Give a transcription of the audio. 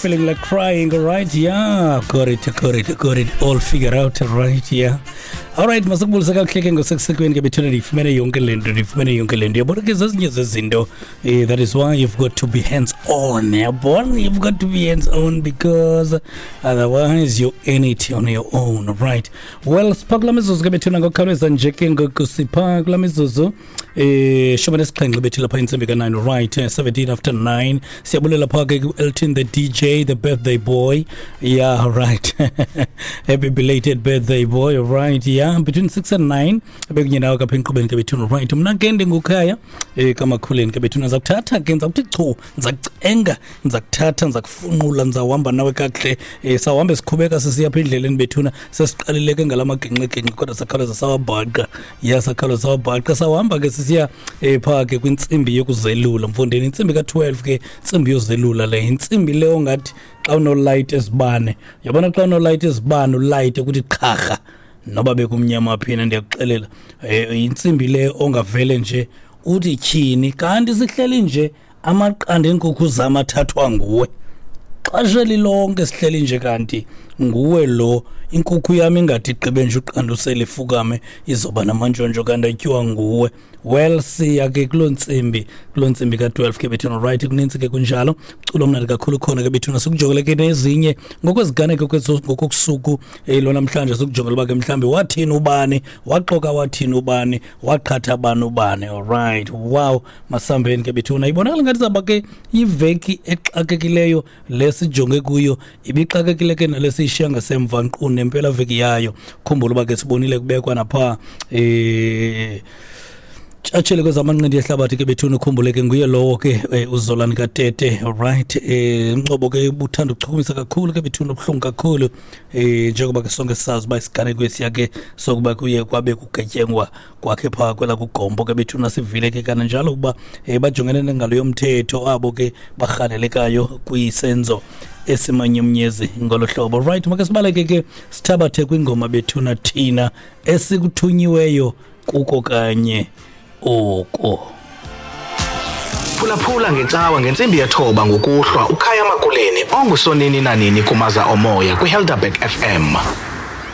Feeling like crying, all right? Yeah, got it, got it, got it all figured out, all right? Yeah. All right, masakubulisa kakuhle ke ngosekusekuweni ke bethuna ndiyifumene yonke le nto, ndiyifumene yonke le nto. Yabona ke zezinye zezinto, that is why you've got to be hands on. Yabona, you've got to be hands on because otherwise you earn it on your own, right? Well, sipha kula mizuzu ke bethuna ngokukhawuleza nje ke ngoku sipha kula mizuzu 17 bethi lapha intsimbi ka-9, right? 17 after 9. Siyabulela pha ke ku-Elton the DJ, the birthday boy. Yeah, right. Happy belated birthday boy, right? Yeah, between 6 and 9 bekunye nawe kapha enkqubeni ke bethuna, right? Mna ke ndingukhaya kamakhuleni ke bethuna, ndiza kuthatha ke, ndiza kuthi chu, ndiza kucenga, ndiza kuthatha, ndiza kufunqula, ndizawuhamba nawe kakuhle. Sawuhambe siqhubeka sisiya apha endleleni bethuna, sesiqalile ke ngala maginxiginxi kodwa sakhawuleza sawabhaqa. Ya, sakhawuleza sawabhaqa, sawuhamba ke sisiya phaa ke kwintsimbi yokuzelula mfondini, intsimbi ka-12 ke, intsimbi yozelula le, intsimbi le ongathi xa unolayita ezibane, uyabona xa unolayita ezibane ulayite ukuthi qharha noba bekumnyama phina, ndiyakuxelela. Intsimbi le ongavele nje uthi tyhini, kanti sihleli nje amaqanda eenkukhu zam athathwa nguwe xesha elilonke, sihleli nje kanti nguwe lo, inkukhu yam ingathi igqibe nje uqandusela ifukame izoba namantshontsho kanti atyiwa nguwe. Well, siya ke kuloo ntsimbi, kuloo ntsimbi ka-12 ke bethuna, right? Kunintsi ke kunjalo, culo mnandi kakhulu khona ke bethuna, sikujongele ke nezinye ngokweziganeko ngokokusuku lwanamhlanje, sikujongele uba ke mhlawumbi wathini ubani, waxoka wathini ubani, waqhatha bani ubani. Alright, wow, masambeni ke bethuna. Ibonakala ngathi zaba ke iveki exakekileyo le sijonge kuyo, ibixakekile ke nale siyishiya ngasemva nkqu nempelaveki yayo. Khumbula uba ke sibonile kubekwa napha tshatshele kwezamanqindi ehlabathi ke bethuna, ukhumbule ke nguye lowo ke uZolani Katete, right? Umncobo ke ubuthanda ukuchukumisa kakhulu ke bethuna, ubuhlungu kakhulu njengoba ke sonke sisazi uba isiganeko esiya ke sokuba kuye kwabe kugetyengwa kwakhe phaa kwela kugombo ke bethuna, sivile ke kananjalo ukuba bajongene nengalo yomthetho abo ke barhanelekayo kwisenzo esimanyumnyezi ngolo hlobo. Right, make sibaleke ke sithabathe kwingoma bethuna, thina esikuthunyiweyo kuko kanye oko. Phulaphula ngecawa ngentsimbi 9 ngokuhlwa uKhaya Makuleni ongusonini nanini kumaza omoya kwiHelderberg FM.